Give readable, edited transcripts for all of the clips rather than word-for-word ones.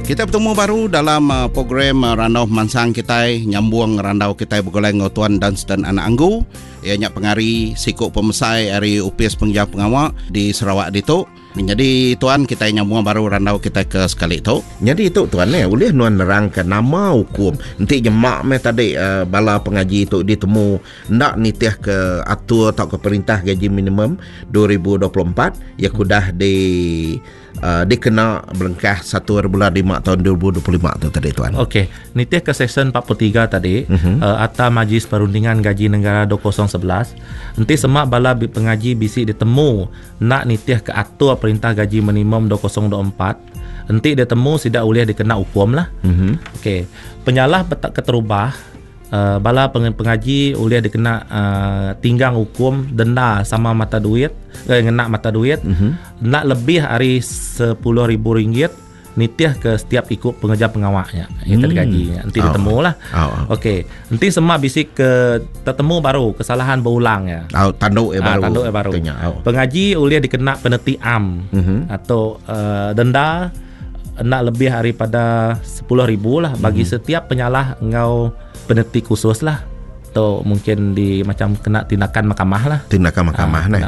Kita betemu baru dalam uh, program uh, Randau Pemansang kitai nyambung randau kitai begulai enggau Tuan Dunstan Anak Anggu iya nya pengari siku pemesai ari Opis Pengereja Pengawa di Sarawak ditu. Nyadi tuan kitai nyambung baru randau kitai ke sekali tu. Nyadi tu tuan eh ulih nuan nerangka nama ukum enti nyema meh tadi bala pengaji tu ditemu enda nitihka atur tauka perintah gaji minimum 2024 iya ke udah di dikena berengkah satu hari bulan lima taun 2025 tu tadi tuan. Okey, nitihka seksyen 43 tadi uh-huh. Akta Majlis Perundingan Gaji Negara 2011 enti sema bala pengaji bisi ditemu Enda nitihka atur perintah gaji minimum 2024, enti ditemu sida ulih dikena ukum lah. Mm-hmm. Okey. Penyalah keterubah uh, bala pengaji ulih dikena uh, tinggang hukum denda sama mata duit eh, ngena mata duit mm-hmm. enda lebih ari RM10,000 nitih ke setiap iku pengereja pengawa nya iya hmm. gaji nya enti oh. ditemu lah oh. oh. okey enti sema bisi ke tetemu baru kesalahan berulang ya oh, tanduk ya ah, baru tanduk ya baru oh. pengaji ulih dikena peneti am mm-hmm. atau uh, denda enda lebih daripada 10,000 lah bagi mm-hmm. setiap penyalah enggau peneti khusus lah Tu mungkin di macam kena tindakan mahkamah lah. Tindakan mahkamah nah.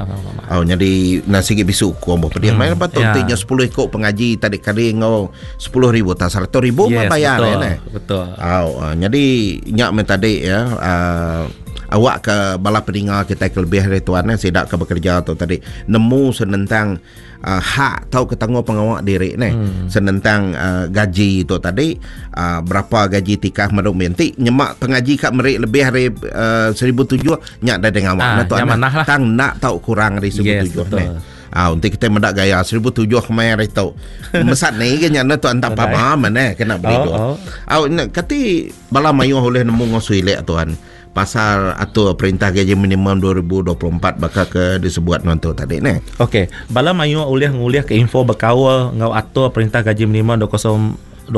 Oh jadi nasi gi bisu ku ambo pedih. Main patut yeah. nya 10 iko pengaji tadi kali ngau 10 ribu tak 100 ribu yes, bayar betul, eh. Betul. Oh jadi nya men tadi ya uh, awak ke bala peninga kita ke lebih dari tuan eh sidak ke bekerja tu tadi nemu senentang uh, hak tau ke tanggung pengawa diri neh hmm. senentang uh, gaji tu tadi uh, berapa gaji tikah meru enti nyemak pengaji ka meri lebih dari uh, 1007 nya dah dengan awak ah, tu lah. tang nak tau kurang dari 1007 yes, neh Ah, untuk kita mendak gaya 1007 kemai hari tu. Mesat ni ke nya tu antak pama mana kena beli tu. Oh, oh. Ah, kati bala mayuh oleh nemu ngosu ilek tuan. Pasal atur perintah gaji minimum 2024 baka ke disebut nuan tu tadi neh. Okey, bala mayuh ulih ngulihka info bekaul enggau atur perintah gaji minimum 2024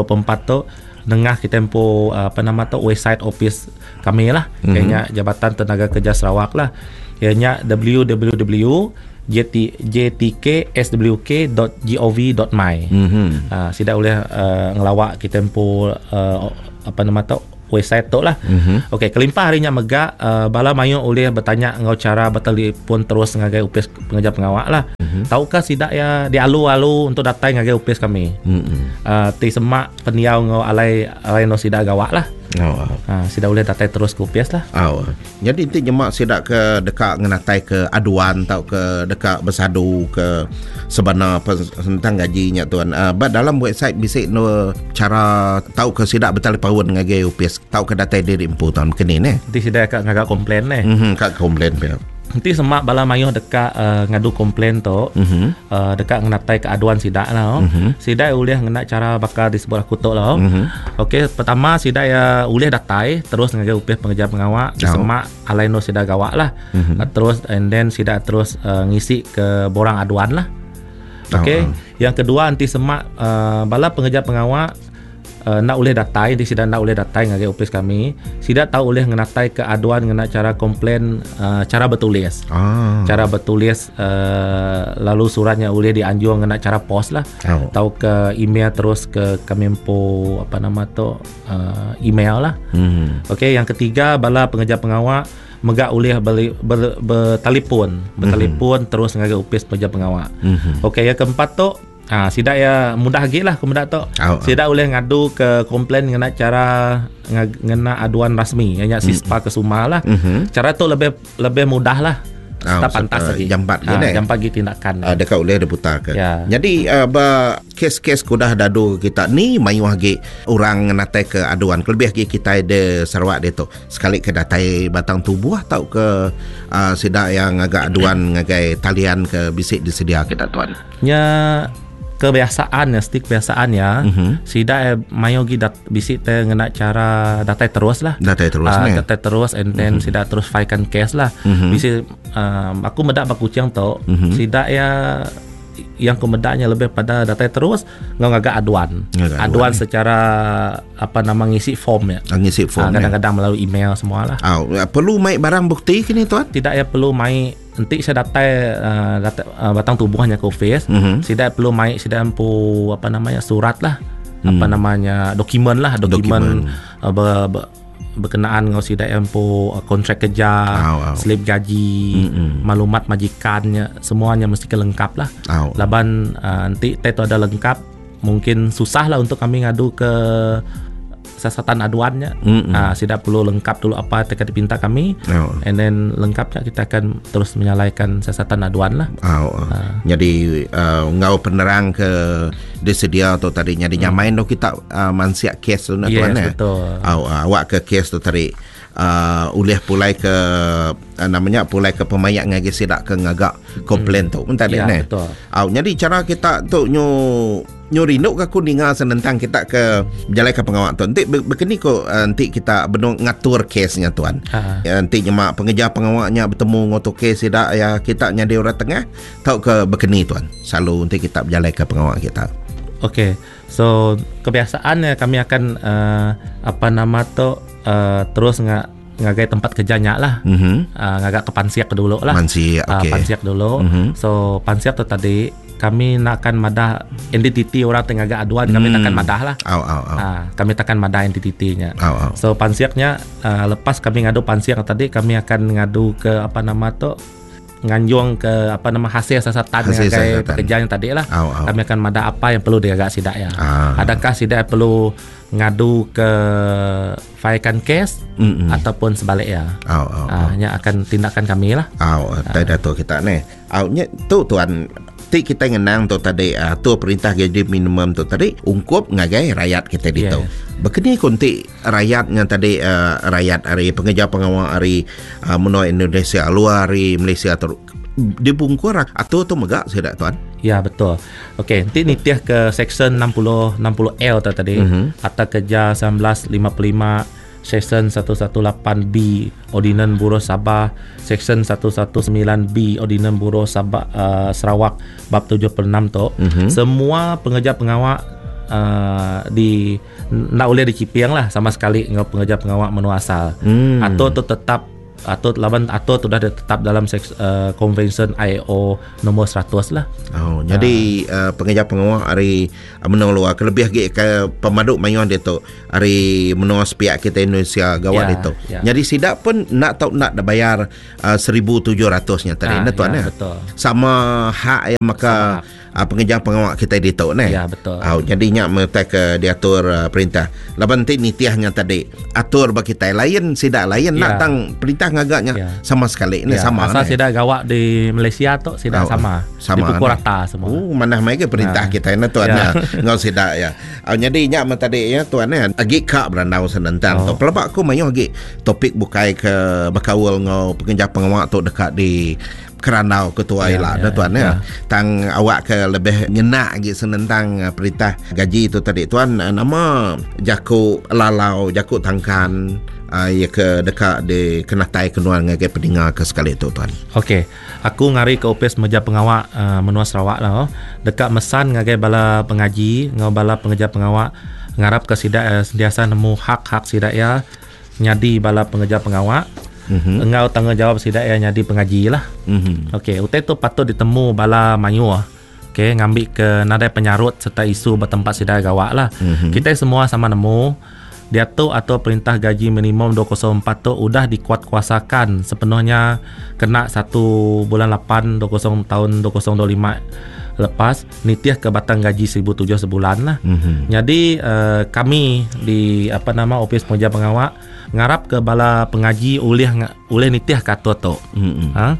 tu nengah kitai empu apa nama tu website opis kami lah mm-hmm. iya nya Jabatan Tenaga Kerja Sarawak lah. Iya nya www.jtkswk.gov.my. Mm-hmm. Uh, sida ulih uh, ngelawa kitai empu uh, apa nama tu website tu lah. Mm-hmm. Okey, kelimpah hari nya mega uh, bala mayuh ulih betanya enggau cara betelefon terus ngagai opis pengereja pengawa lah. Mm-hmm. Tauka sida ya dialu-alu untuk datai ngagai opis kami. Mm-hmm. Uh, ti semak pendiau enggau alai alai no sida gawa lah. Oh. Uh, sida ulih datai terus ke opis lah. Oh. Nyadi enti nyema sida ke deka ngenatai ke aduan tauka deka besadu ke sebana tentang gaji nya tuan. Uh, ba dalam website bisi no cara tauka sida betalipaun ngagai opis tauka datai diri empu tuan keni neh. Enti sida ka ngaga komplain neh. Mhm ka komplain pia. Enti sema bala mayuh deka uh, ngadu komplain tu, mm-hmm. uh, deka ngenatai ke aduan sida lah. Mm-hmm. Sida ulih ngena cara baka disebut aku tu lah. Mm-hmm. Okey, pertama sida ya ulih datai terus ngagai upih pengereja pengawa oh. semak alai no sida gawa lah. Mm-hmm. Uh, terus and then sida terus uh, ngisi ke borang aduan lah. Okey, oh. yang kedua enti semak uh, bala pengereja pengawa Enda ulih datai, enti sida enda ulih datai ngagai opis kami, sida tau ulih ngenatai ke aduan ngena chara komplain chara betulis. Ah. Chara betulis lalu surat nya ulih dianjung ngena chara pos lah. Oh. Tauka email terus ke kami empu apa nama tu email lah. Mm. Okey, yang ketiga bala pengereja pengawa mega ulih beli ber, bertelefon, bertelefon mm. terus ngagai opis pengereja pengawa. Mm-hmm. Okey, yang keempat tu Ha, sida iya mudah agi lah ku meda tu. Oh, sida ulih ngadu ke komplain ngena cara ngena aduan rasmi iya nya sispa ke suma lah. Mm-hmm. Cara tu lebih lebih mudah lah. Oh, Serta pantas lagi. Jampat ha, jampat agi tindakan. Uh, deka ulih diputar ke. Ya. Jadi uh, ba kes-kes ke udah dadu kita ni mayuh agi orang ngenatai ke aduan kelebih agi kitai di Sarawak ditu. Sekali ke datai batang tubuh tauka uh, sida yang ngaga aduan ngagai talian ke bisi disedia kita tuan. Nya kebiasaan ya, siti kebiasaan ya. Mm-hmm. Sida eh, mayu gi dat, bisi te ngena cara datai terus lah. Datai terus uh, ne. Datai terus and then mm-hmm. sida terus filekan case lah. Mm-hmm. Bisi um, aku meda ba Kuching tu, mm-hmm. sida ya yang ku meda nya lebih pada datai terus enggau ngaga aduan. Ngaga aduan. Aduan secara apa nama ngisi form ya. Ah, ngisi form. Ah, kadang-kadang melalui email semua lah. Ah, perlu mai barang bukti kini tuan? Tidak ya perlu mai Enti sida datai uh, datai uh, batang tubuh nya ke office, mm-hmm. sida perlu mai sida empu apa namanya surat lah. apa namanya dokumen lah dokumen, dokumen. Ber, ber, berkenaan dengan sida empu kontrak kerja, au, au. slip gaji, mm-hmm. maklumat majikannya semuanya mesti kelengkap lah. Au. Laban nanti uh, tu ada lengkap mungkin susah lah untuk kami ngadu ke siasatan aduannya. Mm-hmm. Sida perlu lengkap dulu apa yang dipinta kami. Oh. And then lengkapnya kita akan terus menyalaikan siasatan aduan lah. Oh. Uh. Jadi ngau penerang ke disedia tu tadi jadi nyamain tu kita mansiak kes tu nak yes, tuan eh. Betul. Oh, awak ke kes tu tadi ulih pulai ke namanya pulai ke pemayak ngagi sidak ke ngagak komplain tu pun tadi ya, ne. Betul. Oh, jadi cara kita tu nyu nyu rindu ke aku ninga senentang kita ke berjalan ke pengawak tu. Nanti berkeni ko nanti kita benung ngatur kesnya tuan. Ya, nanti nyemak pengejar pengawaknya bertemu ngoto kes tidak ya kita nyadi orang tengah tau ke berkeni tuan. Selalu nanti kita berjalan ke pengawak kita. Okey. So kebiasaannya kami akan apa nama tu terus ngagai tempat kerjanya lah. Mm-hmm. Ngagak ke pansiak dulu lah. Pansiak, okey. Pansiak dulu. Mm-hmm. So pansiak tu tadi kami nakkan madah entiti orang tengah agak aduan kami takkan madah lah. Au, au, au. Kami takkan madah entitinya. Au, au. So pansiaknya lepas kami ngadu pansiak tadi kami akan ngadu ke apa nama tu nganjung ke apa nama hasil siasatan ngagai pekerjaan yang tadi lah. Au, au. Kami akan madah apa yang perlu diagak sidak ya. Adakah sidak perlu ngadu ke failkan kes ataupun sebaliknya. Au, au, au. Hanya akan tindakan kami lah. Au, tak tu kita ni. Au nya tu tuan ti kita ngenang tu tadi tu perintah gaji minimum tu tadi ungkup ngagai rakyat kita ditu. Yes. Bekeni kunti rakyatnya tadi rakyat hari pengejar pengawal hari menua Indonesia luar hari Malaysia tu dibungkur atau tu megak saya tak tuan. Ya betul. Okey, nanti nitiah ke section 60L tu tadi atau kerja 1955 Section 118B Ordinan Buruh Sabah, Section 119B Ordinan Buruh Sabah Sarawak bab 76 tu. Semua pengejar pengawak di nak boleh dicipiang lah sama sekali dengan pengejar pengawak menua asal. Atau tu tetap atau lawan atau tu dah tetap dalam Convention IO nombor 100 lah. Oh, jadi pengejar pengawak hari menua luar kelebih lagi ke pemaduk mayuan dia tu hari menua sepiak kita Indonesia gawat ya, dia tu. Ya. Jadi sidak pun nak tahu nak dah bayar 1700 nya tadi nah tuan ya, ya. Betul. Sama hak yang maka pengejar pengawak kita ditu ne. Ya betul. Oh, jadi nyak metai ke diatur perintah. Laban ti nitiahnya tadi atur bagi kita lain sidak lain ya. Nak tang perintah ngagaknya ya. Sama sekali ni ya. sama. Asal ne. sidak gawak di Malaysia tu sidak sama. Sama dipukul ne. rata semua. Oh, mana mai ke perintah kita ne tuan ya. Ngau sidak ya. Oh, jadi nyak tadi ya tuan ne agi kak berandau senentang tu. Pelabak aku mayu agi topik bukai ke bakaul ngau pengejar pengawak tu dekat di keranau ketua ya, lah ya, tuan ya. Ya. Tang awak ke lebih nyenak lagi senentang perintah gaji tu tadi tuan nama jaku lalau jaku tangkan ya ke dekat di kenatai kenuan ngagai pendengar ke sekali tu tuan. Okey, aku ngari ke ofis meja pengawak menua Sarawak lah. Dekat mesan ngagai bala pengaji ngau bala pengejar pengawak ngarap ke sidak sentiasa nemu hak-hak sidak ya nyadi bala pengejar pengawak. Engau tanggungjawab sidak ya nyadi pengaji lah. Okey, utai tu patut ditemu bala mayu. Okey, ngambil ke nadai penyarut serta isu bertempat sidak gawak lah. Kita semua sama nemu diatur atau perintah gaji minimum 204 tu udah dikuatkuasakan sepenuhnya kena 1 bulan 8 20 tahun 2025 lepas nitiah ke batang gaji 1,700 sebulan lah. Jadi kami di apa nama ofis pengejar pengawak ngarap ke bala pengaji ulih ulih nitiah kata tu. Ha?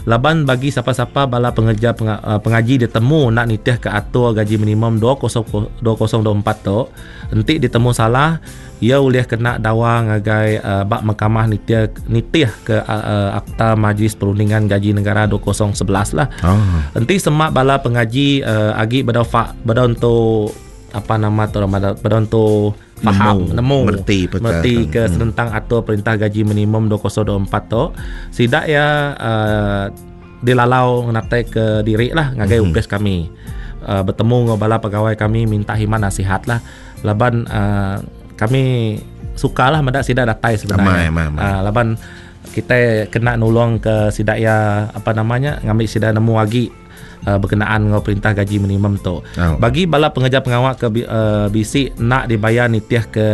Laban bagi siapa-siapa bala pengejar pengaji ditemu nak nitiah ke atur gaji minimum 2024 tu, entik ditemu salah ia ulih kena dawa ngagai bak mahkamah nitiah ke Akta Majlis Perundingan Gaji Negara 2011 lah. Entik semak bala pengaji agi bedau bedau untuk apa nama tu bedau untuk faham nemu merti ke tentang atur perintah gaji minimum 2024 tu sidak ya dilalau ngatai ke diri lah ngagai upes kami bertemu dengan bala pegawai kami minta himan nasihat lah laban kami sukalah mendak sidak datai sebenarnya. Laban kita kena nulung ke sidak ya apa namanya ngambil sidak nemu lagi Berkenaan enggau perintah gaji minimum tu. Bagi bala pengereja pengawa ke bisi enda dibayar nitih ke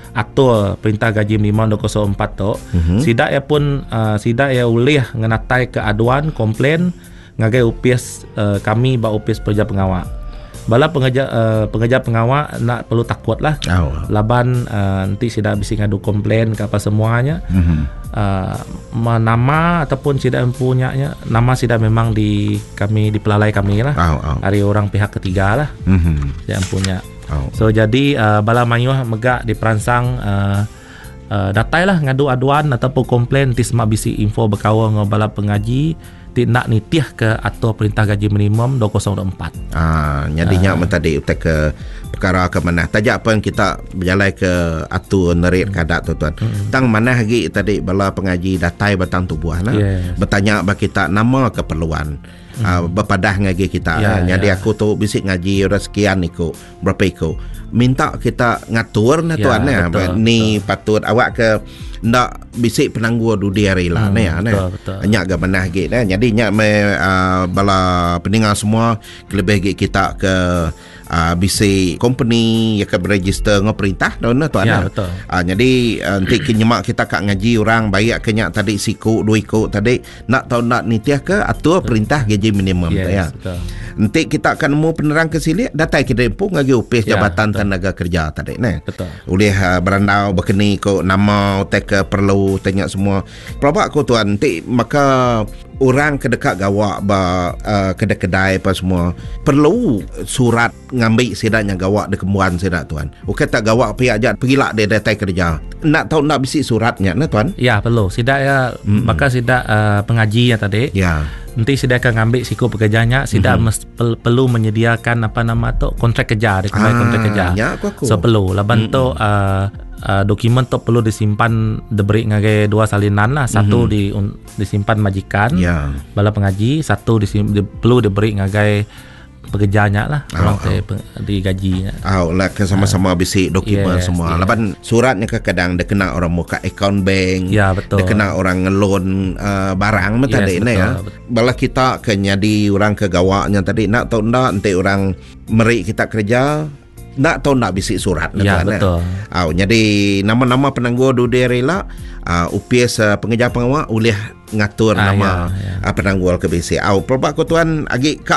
atur perintah gaji minimum 2004 tu, sida iya pun sida iya ulih ngenatai ke aduan complain ngagai opis kami ba opis pengereja pengawa. Bala pengereja pengereja pengawa enda perlu takut lah laban enti sida bisi ngadu complain ke apa semua nya Nama ataupun sida empu nya nya nama sida memang di kami dipelalai kami lah oh, oh. ari orang pihak ketiga lah mm-hmm. sida empu nya oh. So jadi bala mayuh mega diperansang datai lah ngadu aduan ataupun komplain ti sema bisi info bekaul enggau bala pengaji ti enda nitih ke atur perintah gaji minimum 2024. Ah, nyadi nya men tadi utai ke perkara ke manah. Taja pen kita bejalai ke atur nerit ke adat tu tuan. Tang manah agi tadi bala pengaji datai batang tubuh nah. Yes. Betanya ba kita nama keperluan. Bepadah ngagai kita. Yeah, nyadi yeah. aku tu bisi ngaji orang sekian iku, berapa iku. Minta kita ngatur nah tuan ya, betul, ni betul. Patut awak ke enda bisi penanggul dudi hari lah ne ne. Nya ga manah agi ne. Nyadi nya me bala peninga semua kelebih agi kita ke bisi company ya ke beregister enggau perintah dah ne tuan. Ya, betul. Nyadi enti ke nyema kita ka ngaji orang baik ke nya tadi siku dua iku tadi enda tau enda nitih ke atur perintah gaji minimum yes, ya. Betul. Enti kita ka nemu penerang ke silik datai ke diri empu ngagai opis ya, Jabatan betul. Tenaga Kerja tadi ne. Betul. Ulih berandau bekeni ko nama utai ke perlu tanya semua. Pelaba aku tuan enti maka orang ke deka gawa ba kedai-kedai apa semua perlu surat ngambi sida nya gawa dikembuan sida tuan. Ukai tak gawa pia aja pegila dia datai kerja. Enda tau enda bisi surat nya ne tuan. Ya perlu. Sida ya baka sida pengaji nya tadi. Ya. Enti sida akan ngambi siku pekerja nya, sida mm-hmm. perlu menyediakan apa nama tu kontrak kerja, dia ah, kontrak kerja. Ya, aku, aku. So perlu laban mm-hmm. tu dokumen tu perlu disimpan diberi ngagai dua salinan lah. Satu mm-hmm. di un, disimpan majikan, yeah. bala pengaji, satu disim, di, perlu diberi ngagai pekerja nya lah oh, orang oh. digaji nya. Oh, lah ke sama-sama uh, bisi dokumen yes, semua. Yes. Laban suratnya kadang dia kena orang muka account bank. Ya, betul. Dia kena orang ngelon barang yes, tadi ne ya. Bala kita ke nyadi orang ke gawaknya tadi nak tahu ndak enti orang meri kita kerja nak tahu nak bisi surat ya, betul. Au jadi nama-nama penanggul dudi hari la upis pengeja pengawa ulih ngatur nama ya, ya. Penanggul ke bisi. Au pelaba ku tuan agi ka.